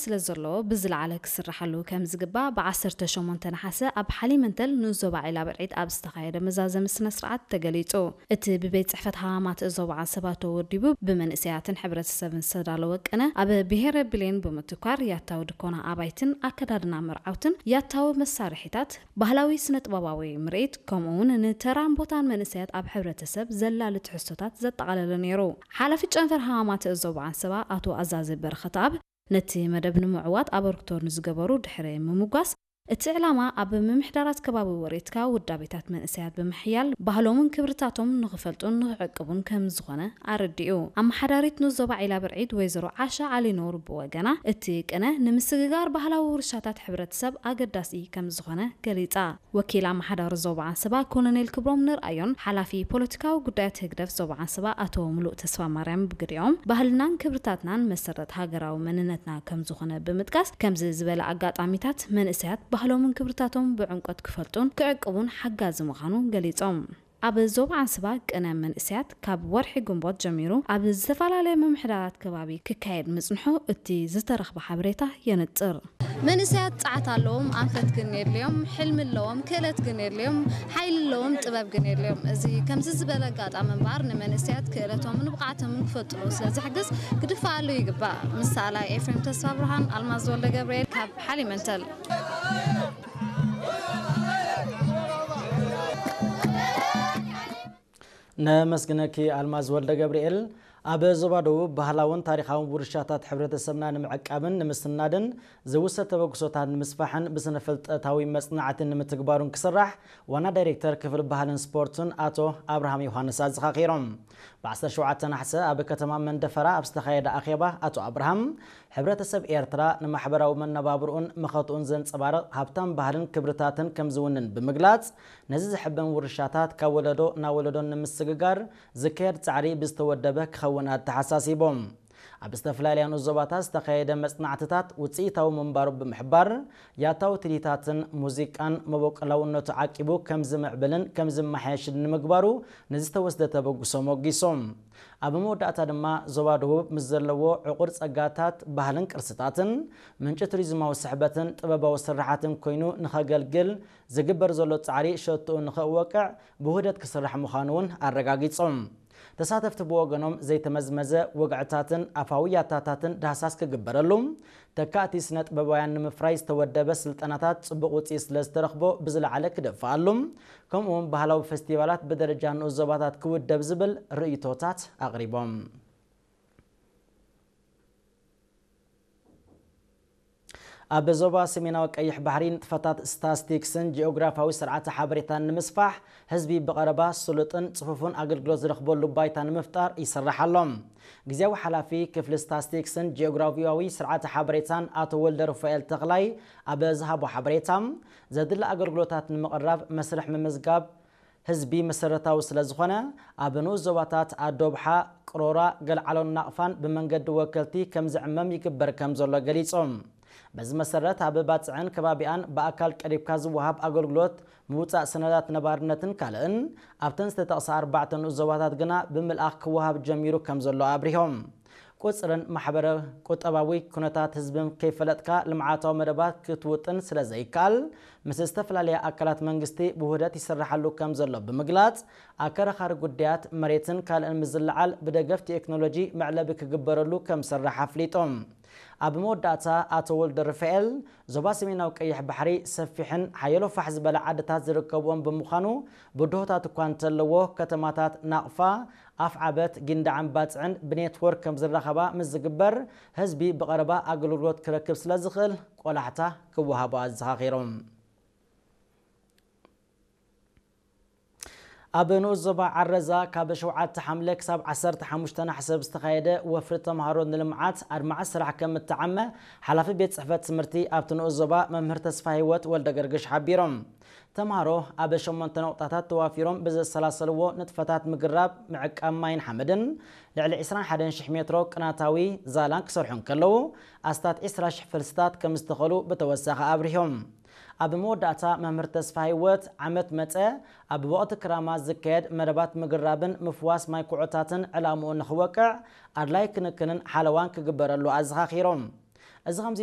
ስለ ዘለዎ ብዝለዓለ ክስራሓሉ ከም ዝግባእ ብ ዓሰርተ ሸሞንተ ነሓሰ ኣብ ሓሊመንተል ንኡስ ዞባ ዒላ ብርዒድ ኣብ ዝተኻየደ መዛዘሚ ስነ ስርዓት ተገሊጹ። እቲ ብቤት ጽሕፈት ሃማማት ዞባ ዓንሰባ ተወዲቡ ብመንእሰያትን ሕብረተሰብን ዝተዳለወ ቅነ ኣብ ብሄረ ብሌን ብምትኳር ያታዊ ድኮና ኣባይትን ኣከዳድና መርዓውትን ያታዊ መሳርሒታት ባህላዊ ስነ ጥበባዊ ምርኢት ከምኡ እውን ንተራን ቦታን መንእሰያት ኣብ ሕብረተሰብ ዘላሊ ትሕዝቶታት ዘጠቓለለ ነይሩ። ሓላፊ ጨንፈር ሃማማት ዞባ ዓንሰባ ኣቶ ኣዛዚ በረኸትኣብ ነቲ መደብ ንምዕዋት ኣበርክቶ ንዝገበሩ ድሕሪ ምምጓስ እቲ ዕላማ ኣብ ምምሕዳራት ከባቢ ወሬትካ ውዳቤታት መንእሰያት ብምሕያል ባህሎምን ክብርታቶም ንኽፈልጡን ንኽዕቅቡን ከም ዝኾነ ኣረዲኡ። ኣመሓዳሪት ንኡስ ዞባ ዒላ ብርዒድ ወይዘሮ ዓሻ ዓሊ ኖር ብወገና እቲ ቅነ ንምስግጋር ባህላዊ ውርሻታት ሕብረተሰብ ኣገዳሲ ከም ዝኾነ ገሊጻ። ወኪል ኣመሓዳሪ ዞባ ዓንሰባ ኮሎኔል ክብሮም ንርኣዮን ሓላፊ ፖለቲካዊ ጉዳያት ህግደፍ ዞባ ዓንሰባ ኣቶ ሙሉእ ተስፋ ማርያም ብግዲኦም ባህልናን ክብርታትናን መሰረት ሃገራዊ መንነትና ከም ዝኾነ ብምጥቃስ ከምዚ ዝበለ ኣጋጣሚታት መንእሰያት ባህሎምን ክብርታቶም ብዕምቆት ክፈልጡን ክዕቅቡን ሓጋዚ ምዃኑ ገሊጾም። ኣብ ዞባ ዓንሰባ ቅነ መንእሰያት ካብ ወርሒ ግንቦት ጀሚሩ ኣብ ዝተፈላለየ ምምሕዳራት ከባቢ ክካየድ ምጽንሑ እቲ ዝተረኽበ ሓበሬታ የነጽር። መንእሰያት ጸዓት ኣለዎም፣ ኣንፈት ግን የድልዮም፣ ሕልሚ ኣለዎም፣ ክእለት ግን የድልዮም፣ ሓይሊ ኣለዎም፣ ጥበብ ግን የድልዮም። እዚ ከምዚ ዝበለ ኣጋጣሚ እምበኣር ንመንእሰያት ክእለቶምን ብቕዓቶምን ክፈልጥሉ ስለ ዝሕግዝ ክድፋኣሉ ይግባእ። ምስ ሰኣላይ ኤፍሬም ተስፋ ብርሃን፣ ኣልማዝ ወልደ ገብርኤል ካብ ሓሊመንተል። ነመስግነኪ ኣልማዝ ወልደ ገብርኤል። ኣብ ዞባ ደቡብ ባህላውን ታሪኻውን ውርሻታት ሕብረተሰብና ንምዕቃብን ንምስናድን ዝውሰድ ተበግሶታት ንምስፋሕን ብስነ ፍልጠታዊ መጽናዕቲ ንምትግባሩን ክስራሕ ዋና ዳይሬክተር ክፍሊ ባህልን ስፖርትን ኣቶ ኣብርሃም ዮሃንስ ኣዘኻኺሮም። ብ ዓሰርተ ሸውዓተ ነሓሰ ኣብ ከተማ መንደፈራ ኣብ ዝተኻየደ ኣኼባ ኣቶ ኣብርሃም ሕብረተሰብ ኤርትራ ንማሕበራዊ መነባብርኡን መኸትኡን ዘንጸባርቕ ሃብታም ባህልን ክብርታትን ከም ዝውንን ብምግላጽ፣ ነዚ ዘሐበን ውርሻታት ካብ ወለዶ ናብ ወለዶ ንምስግጋር ዝካየድ ጻዕሪ ብዝተወደበ ክኸውን ኣተሓሳሲቦም። ኣብ ዝተፈላለያ ንኡስ ዞባታት ዝተኻየደ መጽናዕትታት ውጽኢታዊ ምንባሩ ብምሕባር፣ ያታዊ ትልሂታትን ሙዚቃን መበቆላውነቱ ዓቂቡ ከም ዝምዕብልን ከም ዝመሓየሽን ንምግባሩ ንዝተወስደ ተበግሶ ሞጊሶም። ኣብ መወዳእታ ድማ ዞባ ደቡብ ምስ ዘለዎ ዕቑር ጸጋታት ባህልን ቅርስታትን ምንጪ ቱሪዝማዊ ስሕበትን ጥበባዊ ስርሓትን ኮይኑ ንኸገልግል ዝግበር ዘሎ ጻዕሪ ሸቶኡ ንኸወቅዕ ብውህደት ክስራሕ ምዃኑ እውን ኣረጋጊጾም። ተሳተፍቲ ብወገኖም ዘይተመዝመዘ ወግዕታትን ኣፋዊ ያታታትን ዳህሳስ ክግበረሉ፣ ተካእቲ ስነ ጥበባውያን ንምፍራይ ዝተወደበ ስልጠናታት ጽቡቕ ውጽኢት ስለ ዝተረኽቦ ብዝለዓለ ክደፍኣሉ፣ ከምኡውን ባህላዊ ፈስቲቫላት ብደረጃ ንኡስ ዞባታት ክውደብ ዝብል ርእይቶታት ኣቕሪቦም። ኣብ ዞባ ሰሜናዊ ቀይሕ ባሕሪ ንጥፈታት ስታስቲክስን ጂኦግራፊያዊ ስርዓተ ሓበሬታን ንምስፋሕ ህዝቢ ብቐረባ ስሉጥን ጽፉፍን ኣገልግሎት ዝረኽበሉ ባይታ ንምፍጣር ይስራሕ ኣሎ። ግዜያዊ ሓላፊ ክፍሊ ስታስቲክስን ጂኦግራፊያዊ ስርዓተ ሓበሬታን ኣቶ ወልደ ሩፋኤል ተኽላይ ኣብ ዝሃቦ ሓበሬታ፣ ዘድሊ ኣገልግሎታት ንምቕራብ መስርሕ ምምዝጋብ ህዝቢ መሰረታዊ ስለ ዝኾነ፣ ኣብ ንኡስ ዞባታት ኣዶብሓ፣ ቅሮራ፣ ገልዓሎን ናቕፋን ብመንገዲ ወከልቲ ከም ዝዕመም ይግበር ከም ዘሎ ገሊጾም። በዚ መሰረት ኣብ ባጽዕን ከባቢኣን ብኣካል ቀሪብካ ዝወሃብ ኣገልግሎት ምውጻእ ሰነዳት ነባርነትን ካልእን ኣብተን ዝተጠቕሳ ኣርባዕተ ንኡስ ዞባታት ግና ብምልኣኽ ክወሃብ ጀሚሩ ከም ዘሎ ኣብሪሆም። ቁጽርን ማሕበረ ቁጠባዊ ኩነታት ህዝብን ከይፈለጥካ ልምዓታዊ መደባት ክትውጥን ስለ ዘይከኣል ምስ ዝተፈላለያ ኣካላት መንግስቲ ብውህደት ይስርሓሉ ከም ዘሎ ብምግላጽ ኣከራኻሪ ጉዳያት መሬትን ካልእን ምስ ዝለዓል ብደገፍ ቴክኖሎጂ መዕለቢ ክግበረሉ ከም ዝስራሕ ኣፍሊጦም። ኣብ መወዳእታ ኣቶ ወልደ ርፋኤል ዞባ ሰሜናዊ ቀይሕ ባሕሪ ሰፊሕን ሓየሎ ፋሕ ዝበለ ዓድታት ዝርከብዎም ብምዃኑ ብድሆታት እኳ እንተለዎ ከተማታት ናቕፋ፣ ኣፍዓበት፣ ጊንዳዕን ባጽዕን ብኔትወርክ ከም ዝራኸባ ምስ ዝግበር ህዝቢ ብቐረባ ኣገልግሎት ክረክብ ስለ ዝኽእል ቆላሕታ ክወሃቦ ኣዘኻኺሮም። ኣብ ንኡስ ዞባ ዓረዛ ካብ ሸውዓተ ሓምለ ክሳብ ዓሰርተ ሓሙሽተ ነሓሰ ብዝተኻየደ ወፍሪ ተምሃሮ ንልምዓት ኣድማዒ ስራሕ ከም እተዓመ ሓላፊ ቤት ጽሕፈት ትምህርቲ ኣብቲ ንኡስ ዞባ መምህር ተስፋ ህይወት ወልደ ገርግሽ ሓቢሮም። ተምሃሮ ኣብ ሸሞንተ ነቑጣታት ተዋፊሮም ብዘሰላሰልዎ ንጥፈታት ምግራብ፣ ምዕቃብ ማይን ሓመድን ልዕሊ ዕስራን ሓደን ሽሕ ሜትሮ ቅናታዊ ዛላን ክሰርሑ እንከለዉ ኣስታት ዕስራ ሽሕ ፈልስታት ከም ዝተኸሉ ብተወሳኺ ኣብሪሆም። ኣብ መወዳእታ መምህር ተስፋ ህይወት ዓመት መጸ ኣብ ወቕቲ ክራማት ዝካየድ መደባት ምግራብን ምፍዋስ ማይ ኩዖታትን ዕላምኡ ንኽወቅዕ ኣድላይ ክንክንን ሓለዋን ክግበረሉ ኣዘኻኺሮም። እዚ ከምዚ